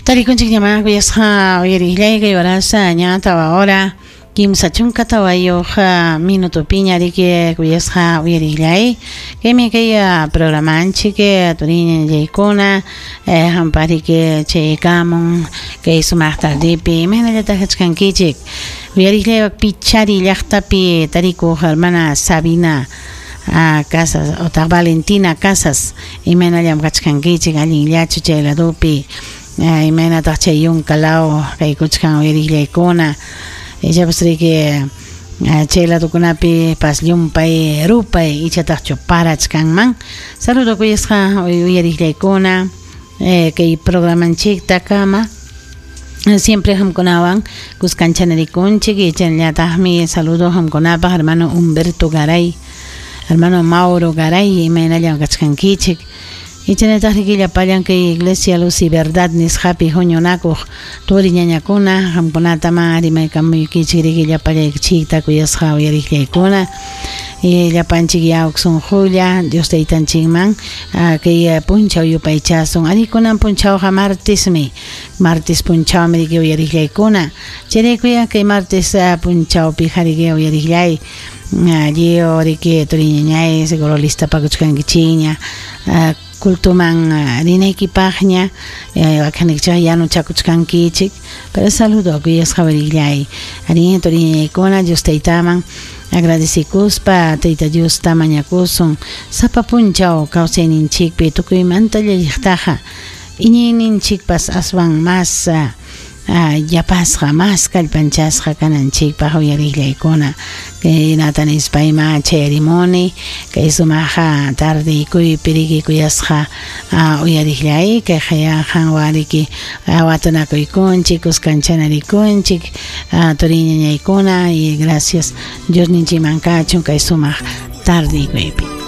Tarikunchikñamá kuyasqa uyariqllay kay horasa ña tawa hora 34 minutopiña riki kuyasqa uyariqllay kaymi kay programanchik turiñañallaykuna hampaq riki chaykamun kay sumaq tardepi imaynallataq kachkankichik uyariqllay Pichari llaqtapi tarikuq hermana Sabina Casas otaq Valentina Casas imaynallam kachkankichik allinllachu chay ladopi imaynataq chay yunka law kaykuchkan uyariqllaykuna ichapas riki chay ladokunapi pas llumpay rupay ichataqchu parachkanman saludo kuyasqa uyariqllaykuna kay programanchiktakama siempre hamkunawan kuskanchanarikunchik y chaynallataqmi saludo hamkunapaq hermano Humberto Garay hermano Mauro Garay imaynallam kachkankichik y chaynallataq riki llapallan kay Iglesia Luz y Verdad nisqapi huñunakuq turi ñañakuna hamkunataman rimaykamuykichik riki llapallaykichikta kuyasqa uyariqllaykuna y llapanchik yawk sunqulla Dios taytanchikman kay punchaw yupaychasun arikunan punchawqa martesmi martes punchawmi riki uyariqllaykuna chayraykuya kay martes punchawpi riki uyariqllay lliw riki turiñañay seguro listapakuchkankichikña cultuman rinaykipaqña wakinnikichik yanuchakuchkankichik pero saludo kuyasqa uyariqllay arí turiñañaykuna Dios taytaman agradecikuspa Tayta Diosta mañakusun sapa punchaw kawsayninchikpi tukuymanta llalliqtaqa iñiyninchikpas aswan mas yapasqa mas kallpanchasqa kananchikpaq uyariqllaykuna kaynata nispayma chayarimuni kay sumaqa tardeykuypi riki kuyasqa uyariqllay kayqa qanwan riki watunakuykunchik kuskanchanarikunchik turiñañaykuna y gracias Diosninchikman kachun kay sumaq tardeykuypi.